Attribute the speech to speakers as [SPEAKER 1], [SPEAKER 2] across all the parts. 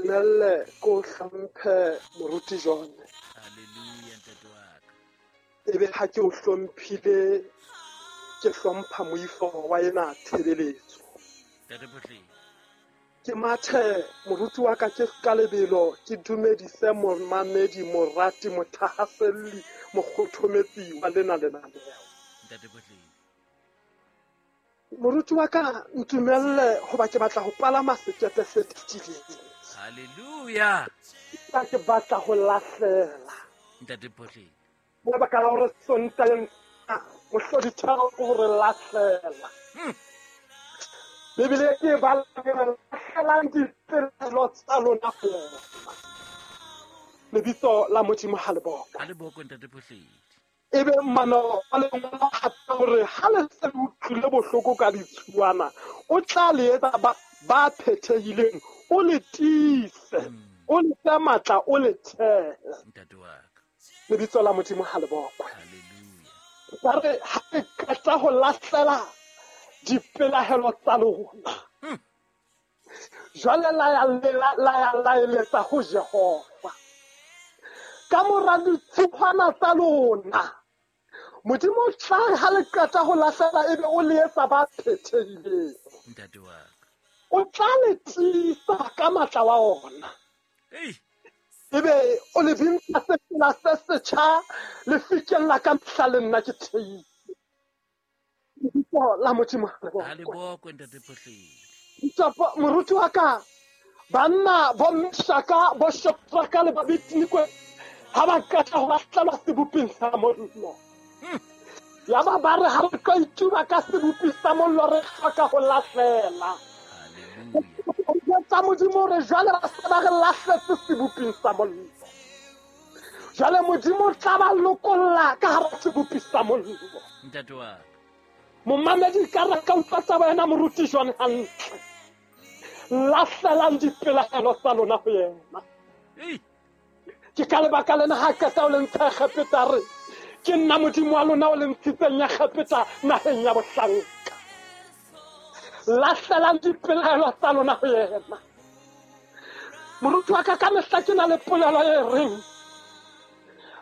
[SPEAKER 1] Ntumelle ko hlomphe moruti John.
[SPEAKER 2] Hallelujah, ntate wa ka.
[SPEAKER 1] Ebe ha ke o hlomphile, ke hlompha moifo wa ena tshebeletso.
[SPEAKER 2] Ntate Phohledi.
[SPEAKER 1] Ke mathe moruti wa ka ke ka lebelo, ke dumedise momamedi, morati, mothahaselli, mokgothometsi wa lena lenaneo.
[SPEAKER 2] Ntate Phohledi.
[SPEAKER 1] Moruti wa ka ntumelle hoba ke batla ho palama sekepe se titileng.
[SPEAKER 2] Hallelujah.
[SPEAKER 1] Ka ke batla ho lahlela.
[SPEAKER 2] Ntate Phohledi.
[SPEAKER 1] Ka baka la hore Sontaheng mohlodithero ke hore lahlela. Bibele ke bala ke re lahlelang dipelaelo tsa lona ho yena. Lebitso la Modimo ha le bokwe.
[SPEAKER 2] Ha le bokwe, Ntate Phohledi.
[SPEAKER 1] Ebe mmano wa lengolo hape hore ha le se le utlwile bohloko ka ditshuwana, o tla le etsa ba phethehileng, o le tiise, o le fe matla, o le thehe.
[SPEAKER 2] Ntate wa ka.
[SPEAKER 1] Lebitso la Modimo ha le bokwe.
[SPEAKER 2] Hallelujah.
[SPEAKER 1] Ba re ha re qeta ho lahlela dipelaelo tsa lona, jwale la ya la ya laeletsa ho Jehova. Ka mora ditshupana tsa lona, Modimo o tla re ha le qeta ho lahlela ebe o le etsa ba phethehileng.
[SPEAKER 2] Ntate wa ka.
[SPEAKER 1] O tla le tiisa ka matla wa ona.
[SPEAKER 2] Ei.
[SPEAKER 1] Ebe o le bintsha sefela se setjha le fikella ka mehla le nna ke theile. Lebitso la Modimo ha le
[SPEAKER 2] Ha le
[SPEAKER 1] bokwe.
[SPEAKER 2] bokwe, Ntate Phohledi.
[SPEAKER 1] Ntapo, moruti wa ka, banna bo Meshaka, bo Shadraka le Abednego ha ba qeta ho lahlelwa seboping sa mollo. Yaba ba re ha re tlo ituba ka sebopi sa mollo, re hloka ho lahlela.
[SPEAKER 2] Hallelujah.
[SPEAKER 1] Tsa Modimo hore jwale ba se ba re lahletse seboping sa mollo. Jwale Modimo o tla ba lokolla ka hara sebopi sa mollo.
[SPEAKER 2] Ntate wa ka.
[SPEAKER 1] Momamedi ka re ka utlwa taba ena moruti John hantle. Lahlelang dipelaelo tsa lona ho yena.
[SPEAKER 2] Ei.
[SPEAKER 1] Ke ka lebaka lena ha qeta o le ntsha Egepeta re, ke nna Modimo wa lona o le ntshitseng ya Egepeta naheng ya bohlanka. Lahlelang dipelaelo tsa lona ho yena. Moruti wa ka, ka mehla ke na le polelo e reng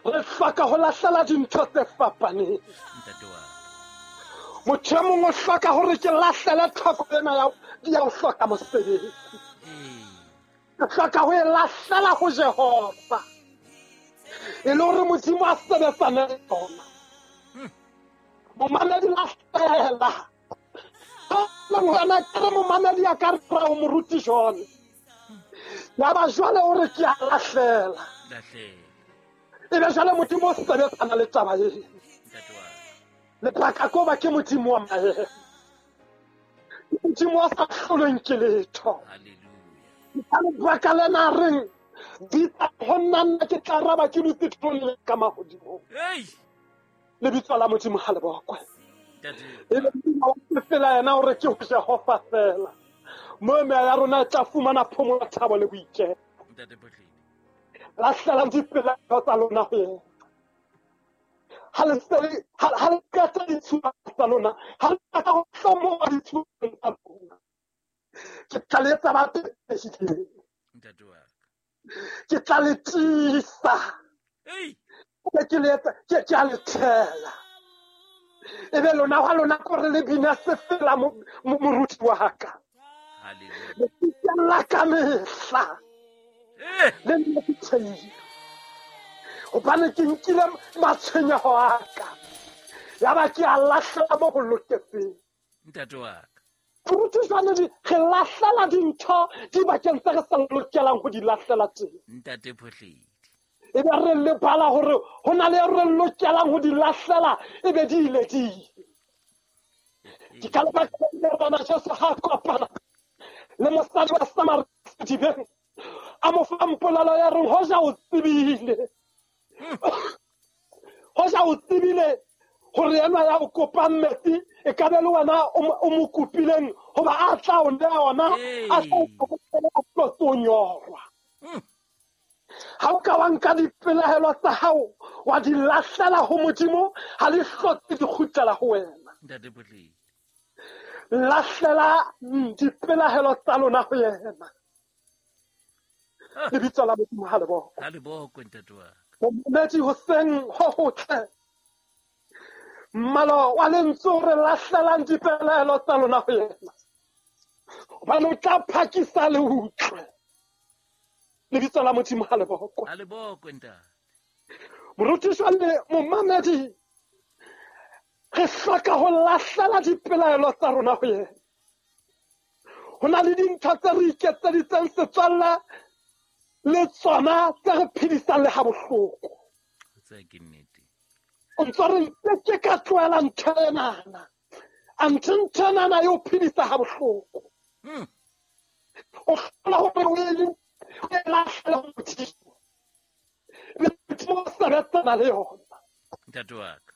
[SPEAKER 1] re hloka ho lahlela dintho tse fapaneng.
[SPEAKER 2] Ntate wa ka.
[SPEAKER 1] Motho e mong o hloka hore ke lahlele tlhoko ena ya ho hloka mosebetsi. Ke hloka ho e lahlela ho Jehova. E le hore Modimo a sebetsane le yona. Momamedi lahlela. Ngwana ke re momamedi a ka re ho moruti John. Yaba jwale o re ke a lahlela.
[SPEAKER 2] Lahlela.
[SPEAKER 1] Ebe jwale Modimo o sebetsana le taba ena.
[SPEAKER 2] Ntate wa ka.
[SPEAKER 1] Lebaka ke hoba ke Modimo wa maemo. Modimo wa sa hlolweng ke letho.
[SPEAKER 2] Hallelujah.
[SPEAKER 1] Ka lebaka lena reng, bitsa ho nna, nna ke tla araba ke dutse teroneng ka mahodimong.
[SPEAKER 2] Ei.
[SPEAKER 1] Lebitso la Modimo ha le bokwe.
[SPEAKER 2] Ntate.
[SPEAKER 1] Ebe Modimo wa sefela yena hore ke ho Jehova fela. Moo meya ya rona e tla fumana phomolo, thabo le boiketlo.
[SPEAKER 2] Ntate Phohledi.
[SPEAKER 1] Lahlelang dipelaelo tsa lona ho yena. Ha le se le, ha le qeta ditshupa tsa lona, ha le qeta ho hlomoha ditshupeng tsa lona, ke tla le etsa ba phethehileng.
[SPEAKER 2] Ntate wa ka.
[SPEAKER 1] Ke tla le tiisa.
[SPEAKER 2] Ei.
[SPEAKER 1] Ke ke le etsa, ke a le thela. Ebe lona hwa lona ke hore le bina sefela moruti wa ka.
[SPEAKER 2] Hallelujah.
[SPEAKER 1] Le fihlella ka mehla.
[SPEAKER 2] Eh.
[SPEAKER 1] Le nna ke theile. Hobane ke nkile matshwenyeho a ka. Yaba ke a lahlela mo ho loketseng.
[SPEAKER 2] Ntate wa ka.
[SPEAKER 1] Moruti jwale re lahlela dintho dibakeng tse re sa lokelang ho di lahlela teng.
[SPEAKER 2] Ntate Phohledi.
[SPEAKER 1] Ebe re lebala hore ho na le re lokelang ho di lahlela, ebe di ile di ile. Ke ka lebaka la Morena Jesu ha kopana le mosadi wa Samaria sedibeng, a mo fa mpolelo ya reng, hoja o tsebile. Hoja o tsebile hore enwa ya o kopang metsi, e ka be le wena o mo kopileng hoba a tla o neha ona, a tla o kopela a tlo tlo nyorwa. Ha o ka wa nka dipelaelo tsa hao, wa di lahlela ho Modimo, ha di hlotse di kgutlela ho wena.
[SPEAKER 2] Ntate Phohledi.
[SPEAKER 1] Lahlela dipelaelo tsa lona ho yena. Lebitso la Modimo ha le bokwe.
[SPEAKER 2] Ha le bokwe ntate wa ka.
[SPEAKER 1] Momamedi hoseng ho hotle. Mmalo wa lentswe o re lahlelang dipelaelo tsa lona ho yena. Hobane o tla phakisa le utlwe. Lebitso la Modimo ha le bokwe.
[SPEAKER 2] Ha le bokwe ntate.
[SPEAKER 1] Morutiši le momamedi, re hloka ho lahlela dipelaelo tsa rona ho yena. Ho na le dintho tse re iketseditseng setswalle le tsona tse re phedisang le ha bohloko.
[SPEAKER 2] Tse ke nnete.
[SPEAKER 1] O ntso re nke ka tlohela ntho enana. Anthe ntho enana e o phedisa ha bohloko. O hlola hore o e lahlele ho Modimo. Ebe Modimo o sebetsana le yona.
[SPEAKER 2] Ntate wa ka.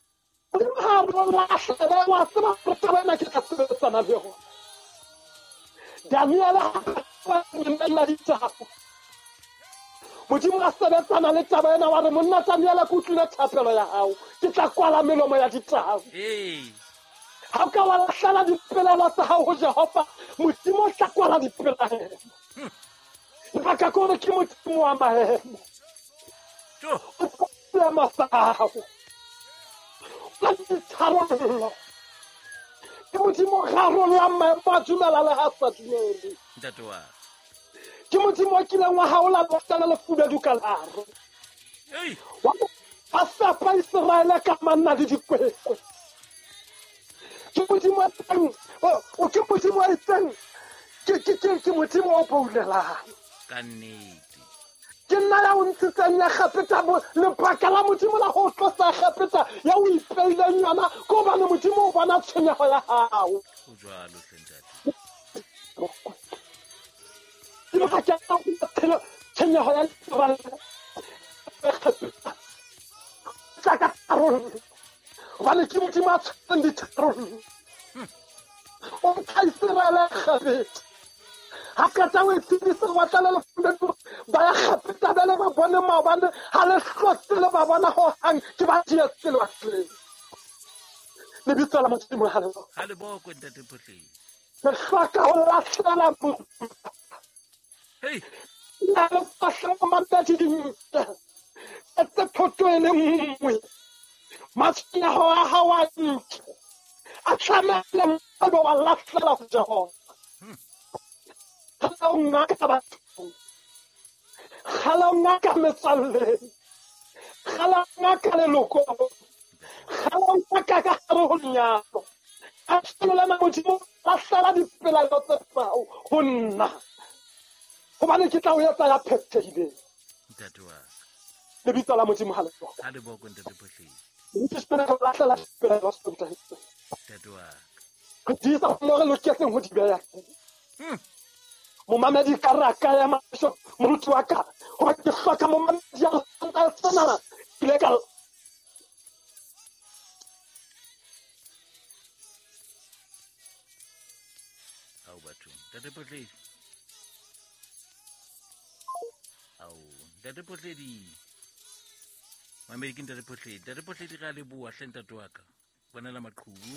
[SPEAKER 1] Modimo ha re lahlele, wa tseba hore taba ena ke tla sebetsana le yona. Daniele ha a ditaba. Modimo a sebetsana le taba ena wa re monna Daniele ke utlwile thapelo ya hao, ke tla kwala melomo ya ditaba. Ha o ka wa lahlela dipelaelo tsa hao ho Jehova, Modimo o tla kwala dipelaelo. Lebaka ke hore ke Modimo wa maemo. O seemo sa hao. O ditharollo. Ke Modimo o rarollang maemo a dumela le ha sa dumele.
[SPEAKER 2] Ntate wa ka.
[SPEAKER 1] Ke Modimo o kileng wa haola lewatle le lefubedu ka lehare. Wa fepa Iseraele ka manna le dikwekwe. Ke Modimo o teng, ke Modimo o itseng, ke Modimo o boulelang.
[SPEAKER 2] Ka nnete.
[SPEAKER 1] Ke nna ya o ntshitseng Egepeta, lebaka la Modimo la ho tlosa Egepeta ya o ipeileng yona ke hobane Modimo o bona tshwenyeho ya hao.
[SPEAKER 2] Ho jwalo hle ntate.
[SPEAKER 1] Ke tshwenyeho ya Egepeta. Tla ka tharollo. Hobane ke Modimo a tshwereng ditharollo. O ntsha Iseraele Egepeta. Ha qeta o e tsebisa lewatle le lefubedu, ba ya Egepeta bele ba bone maobane, ha le hlotse le ba bona hohang, ke ba dietse lewatleng. Lebitso la Modimo ha le bokwe.
[SPEAKER 2] Ha le bokwe ntate Phohleng.
[SPEAKER 1] Re hloka ho lahlela Modimo.
[SPEAKER 2] Hey.
[SPEAKER 1] Na le fahla mamedi dintho. Tse thoto e le nngwe. Matshwenyeho a hao a ntle. A tlamehile ebe wa lahlela ho Jehova. Kgala o ngaka bathong. Kgala o ngaka metswalleng. Kgala o ngaka lelokong. Kgala o ngaka ka hare ho lenyalo. A tshwanela Modimo lahlela dipelaelo tse hao ho nna. Hobane ke tla o etsa ya phethehileng.
[SPEAKER 2] Ntate wa ka.
[SPEAKER 1] Lebitso la Modimo ha le bokwe.
[SPEAKER 2] Ha le bokwe ntate Phohleng.
[SPEAKER 1] Ke lahlela dipelaelo tsa
[SPEAKER 2] ntate wa ka.
[SPEAKER 1] Re tiisa mo re loketseng ho di beha. Momamedi ka re a ka ya mahlo, moruti wa ka, hoba ke hloka momamedi ya senana. Ke ile ka
[SPEAKER 2] Ao batho, ntate Phohledi. Ao, ntate Phohledi. Mamedi ke ntate Phohledi. Ntate Phohledi re a leboha hle ntate wa ka. Bonela maqhubu.